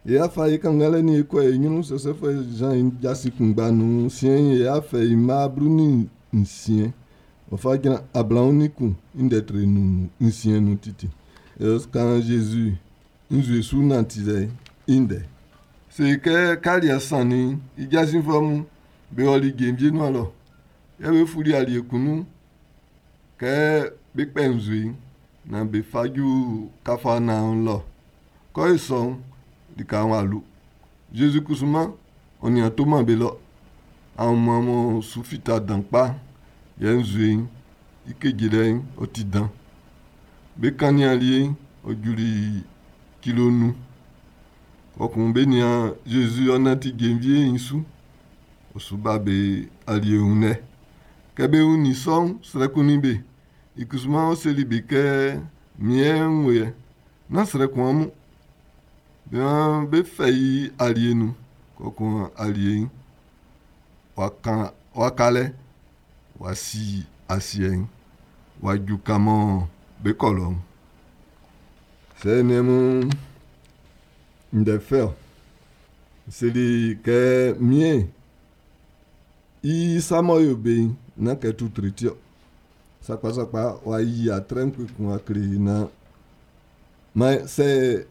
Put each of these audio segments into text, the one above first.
E a fa e kannganlɛ nin e kɔ e ɲrun Sɛsɛfuɛ Zan i jasin kunngba nun. Siɛn'n, e a fɛ i mma 16, ɔ fa jran 21 i ndɛ tre nun nsiɛn nun titi. E kan Zezi nzue su nantilɛ'n i ndɛ. Se kɛ kɛ aliɛ sannin'n, i jasinfuɛ mun be ɔli jenvie nuan lɔ. Yɛ be fuli alie kun nun kɛ be kpɛ nzue'n naan be fa ju Kafarnaɔm lɔ. Kɛ i sɔ'n, lika'n w'a lu. Zezi kusuman, ɔ nin a toman be lɔ. Aunmuan m'ɔ su fita dan kpa, yɛ nzue'n i kejelɛ'n ɔ ti dan. Be kannin alie'n, ɔ juli kilo nnun. Kpɔkun be nian Zezi ɔ nanti jenvie'n su. Ɔ su ba be alie wun lɛ. Kɛ be wunnin sɔ'n, srɛ kunnin be. I kusuman ɔ seli be kɛ, “Min yɛ n wo yɛ, nán srɛ kun amun.” Be waan be fɛ i alie nun, kpɔkun alie'n w'a ka lɛ w'a si asiɛ'n, w'a ju kan mɔ be kɔ lɔ'n. Sɛ niɛn mun ndɛ fɛ ɔ. N seli kɛ miɛn i sa m'ɔ yo be'n, nán kɛ tutre ti ɔ. Sakpasakpa w'a yi atrɛ kun w'a kle naan man sɛ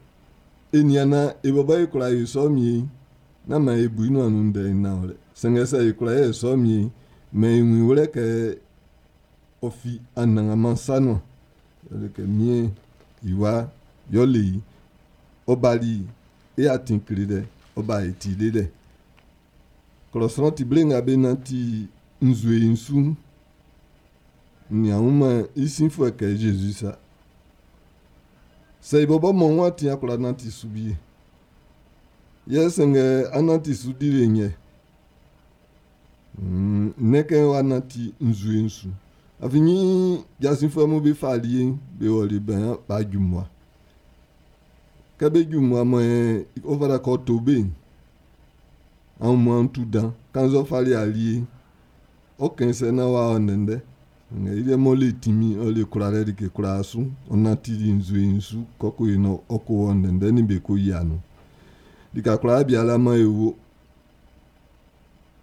e nian naan e bɔbɔ e kwla yo sɔ mie'n, nán maan e bu i nuan nun ndɛ'n nanwlɛ. Sanngɛ sɛ e kwla yɛ sɔ mie'n, mɛn i wun wlɛ kɛ ɔ fi Anannganman sa nuan. Yɛle kɛ miɛn i wa yɔ le i, ɔ bali e atin klelɛ, ɔ ba e ti lelɛ. Klɔ sran ti ble nga be nanti nzue'n su'n, n nian wunman i sinfuɛ kɛ Zezi sa. Sɛ i bɔbɔ mɔ w'a ti a kwla nanti su wie. Yɛ sanngɛ a nanti su di le nyɛ. Nnɛn kɛ w'a nanti nzue'n su. Afin jasinfuɛ mun be fa alie'n be wɔli bɛn b'a ju mmua. Kɛ be ju mmua mɔ ɔ fata kɛ ɔ to be'n, aunmuan'n tu dan. Kannzɛ ɔ fali alie'n, ɔ kɛn sɛ naan w'a ɔ ndɛndɛ. Sanngɛ i liɛ m'ɔ le tinmin, ɔ le kwlalɛ like kwlaa su, ɔ nantili nzue'n su kɔkɔ yi ɔ ko wɔ ndɛndɛ nin be ko yia nun. Lika kwlaa biala man e wo.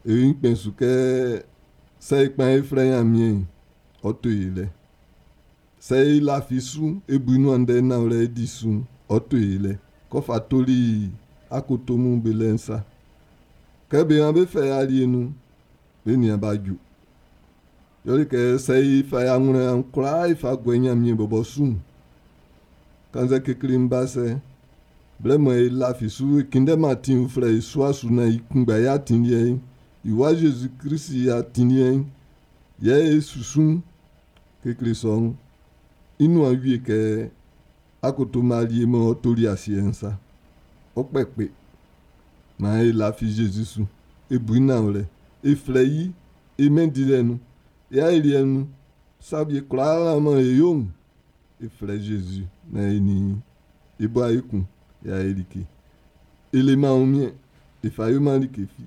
E kpɛn su kɛ sɛ e kpan e flɛ Ɲanmiɛn'n, ɔ to e lɛ. Sɛ e lafi su, e bu i nuan ndɛ nanwlɛ e di su'n, ɔ to e lɛ. Kɔ fa toli akoto mun be lɛ'n sa. Kɛ be waan be fɛ alie nun, be nian b'a ju. Yɛle kɛ sɛ e fa anwlɛn kwlaa e fa guɛ Ɲanmiɛn bɔbɔ su'n, kannzɛ kekle'n ba sɛ, blɛ mɔ e lafi su e kunndɛman atin uflɛ e sua su naan i kunngba yɛ atin liɛ'n, i wa Zezi Klisi i atin liɛ'n, yɛ e susu'n, kekle sɔ'n, i nuan wie kɛ akoto Malie m'ɔ toli asiɛ'n sa. Ɔ kpɛ kpe. Maan e lafi Zezi su, e bu i nanwlɛ, e flɛ i e mɛn dilɛ nun, e aeliɛ nun, sa wie kwlaa mɔ e yo'n, e flɛ Zezi naan e nin e bo ayɛ kun, e ayɛ like. E leman wunmiɛn, e fa yoman like fi.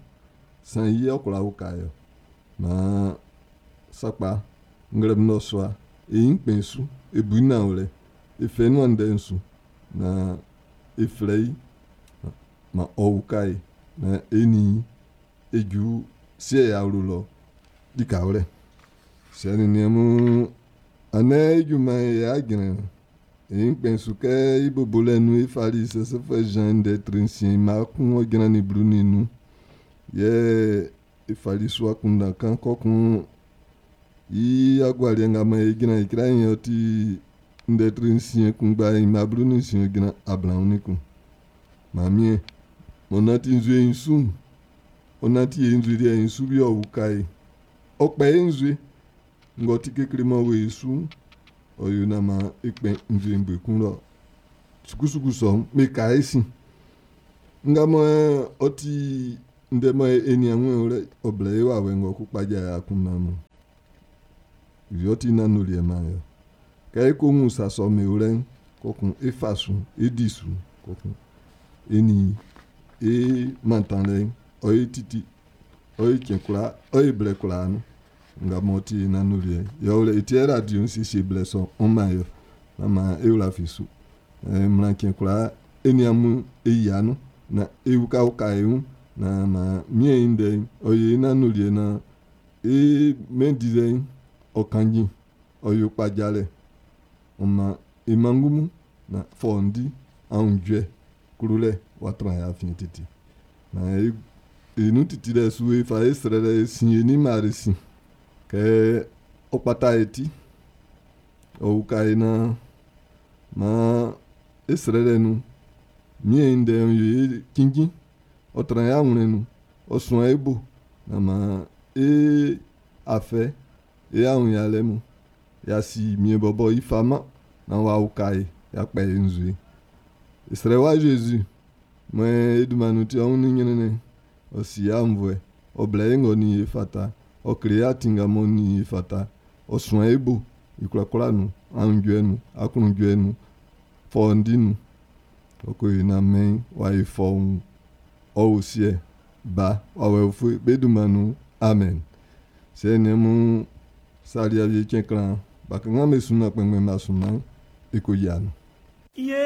San i yɛ ɔ kwla uka e ɔ. Maan sakpa nglɛmun nnɔsua, e ɲin kpɛn su, e bu i nanwlɛ, e fɛ i nuan ndɛ'n su, naan e flɛ i, ma ɔ uka e, naan e nin e ju siɛ i awlo lɔ likawlɛ. Siɛ nin niɛn mun, andɛ e junman yɛ a jran. E ɲin kpɛn su kɛ i bobolɛ nun e fali Sɛsɛfuɛ Zan ndɛ tre nsiɛn mma kun ɔ jrannin 15. Yɛ e fali su akunndan kan kɔkun i agualiɛ nga man e jran e kra ɔ ti ndɛ tre nsiɛn kunngba i mma 16 ɔ jran 21. Mamiɛn, m'ɔ nanti nzue'n su'n, ɔ nanti e nzue liɛ'n su bi ɔ uka e. Ɔ kpɛ e nzue, ng'ɔ ti kekle m'ɔ wo e su'n, ɔ yo naan man e kpɛ nzue'n bue kun lɔ. Sukusuku sɔ'n, me ka e sin. Nga mɔ ɔ ti ndɛ mɔ e nian wun wlɛ, ɔ blɛ e wawɛ ng'ɔ ko kpaja e akunndan nun. Wie ɔ ti nanndoliɛ man e ɔ. Kɛ e ko wun sa sɔ'm be wlɛ'n, kɔkun e fa su, e di su, kɔkun e nin e mantanlɛ'n, ɔ ye titi, ɔ ye cɛn kwlaa, ɔ ye blɛ kwlaa nun. Nga m'ɔ ti nanndoliɛ. Yɛ ɔ lɛ e ti radio n siesie blɛ sɔ'n, ɔ man e ɔ. Nán maan e wla fi su. Mmla cɛn kwlaa e nian mun e yia nun. Naan e ukauka e wun naan maan Miɛn'n i ndɛ'n ɔ yo e nanndoliɛ naan e mɛn dilɛ'n ɔ kanjin, ɔ yo kpajalɛ. Ɔ man e manngu mun naan fɔundi, aunjuɛ, klolɛ w'a tran e afiɛn titi. Naan e, e nun titilɛ su e fa e srɛlɛ e sin e nin Mari sin. Kɛ ɔ kpata e ti, ɔ uka e naan maan e srɛlɛ nun Miɛn'n i ndɛ'n yo e cinnjin, ɔ tran e awlɛn nun, ɔ suan e bo naan maan e afɛ, e awunyalɛ mun, y'a si Miɛn bɔbɔ i fama naan w'a uka e, y'a kpɛ e nzue. E srɛ wa Zezi, mɔ e dunman nun ti ɔ wunnin ɲrɛnnɛn, ɔ si aunnvuɛ, ɔ blɛ e ng'ɔ nin e fata, ɔ kle e atin nga m'ɔ nin e fata, ɔ suan e bo i kwlakwla nun, aunjuɛ nun, aklunjuɛ nun, fɔundi nun. Ɔ ko yo naan mɛn'n w'a yo fɔuun. Ɔ o Siɛ, Ba, Wawɛ ufue be dunman nun. Amen. Siɛ nin mun sali awie cɛn klan, bakanngan'm be sunman kpɛnngbɛn'm b'a sunman e ko yia nun. Ye.